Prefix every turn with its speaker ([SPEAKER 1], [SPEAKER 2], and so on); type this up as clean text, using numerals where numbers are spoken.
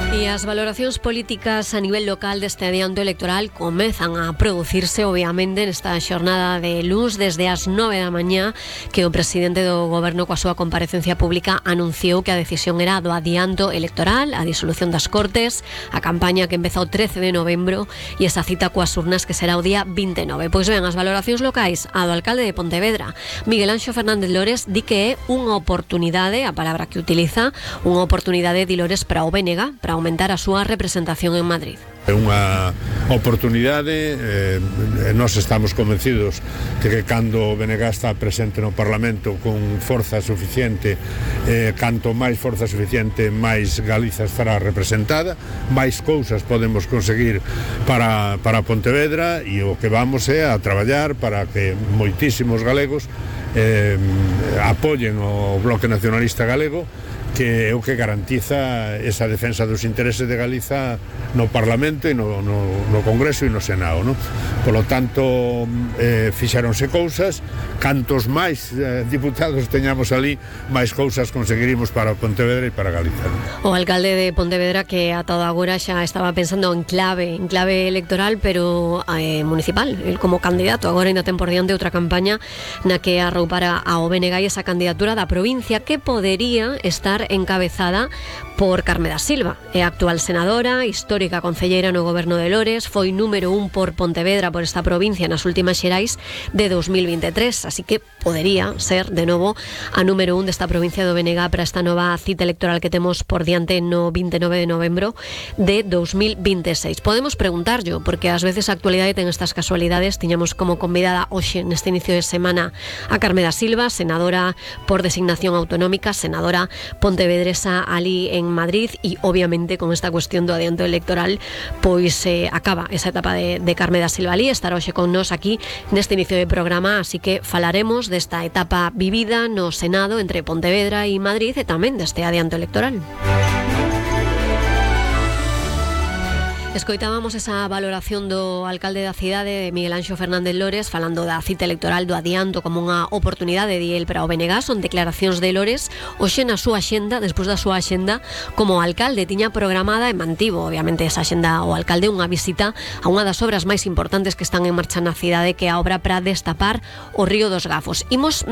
[SPEAKER 1] E as valoracións políticas a nivel local deste adianto electoral comezan a producirse, obviamente, nesta xornada de luns desde as 9 da mañá que o presidente do goberno coa súa comparecencia pública anunciou que a decisión era do adianto electoral, a disolución das Cortes, a campaña que empeza o 13 de novembro e esa cita coas urnas que será o día 29. Pois ben, as valoracións locais, a do alcalde de Pontevedra, Miguel Anxo Fernández Lores, di que é unha oportunidade, a palabra que utiliza, unha oportunidade de Lores para o BNG, para aumentar a súa representación en Madrid.
[SPEAKER 2] É unha oportunidade, nós estamos convencidos de que cando o BNG está presente no Parlamento con forza suficiente, canto máis forza suficiente, máis Galiza estará representada, máis cousas podemos conseguir para Pontevedra, e o que vamos é a traballar para que moitísimos galegos apoyen o Bloque Nacionalista Galego, que é o que garantiza esa defensa dos intereses de Galiza no Parlamento e no Congreso e no Senado, no? Polo tanto, fixaronse cousas, cantos máis diputados teñamos ali, máis cousas conseguirimos para Pontevedra e para Galiza, no?
[SPEAKER 1] O alcalde de Pontevedra, que ata agora xa estaba pensando en clave electoral, pero municipal, el como candidato, agora ainda ten por diante outra campaña na que arroupara ao BNG e esa candidatura da provincia que podería estar encabezada por Carme da Silva. É a actual senadora, histórica concelleira no goberno de Lores, foi número 1 por Pontevedra, por esta provincia, nas últimas xerais de 2023, así que podería ser de novo a número 1 desta provincia do BNG para esta nova cita electoral que temos por diante no 29 de novembro de 2026. Podemos preguntarlo, porque ás veces a actualidade ten estas casualidades. Tiñamos como convidada hoxe neste inicio de semana a Carme da Silva, senadora por designación autonómica, senadora pontevedresa ali en Madrid, e obviamente con esta cuestión do adianto electoral pois acaba esa etapa de Carme da Silva ali. Estará hoxe con nos aquí neste inicio de programa, así que falaremos desta etapa vivida no Senado entre Pontevedra e Madrid e tamén deste adianto electoral. Escoitábamos esa valoración do alcalde da cidade, de Miguel Anxo Fernández Lores, falando da cita electoral, do adianto como unha oportunidade de el para o BNG. Son declaracións de Lores hoxe na súa axenda, despois da súa axenda como alcalde. Tiña programada e mantivo, obviamente, esa axenda o alcalde, unha visita a unha das obras máis importantes que están en marcha na cidade, que é a obra para destapar o río dos Gafos. Imos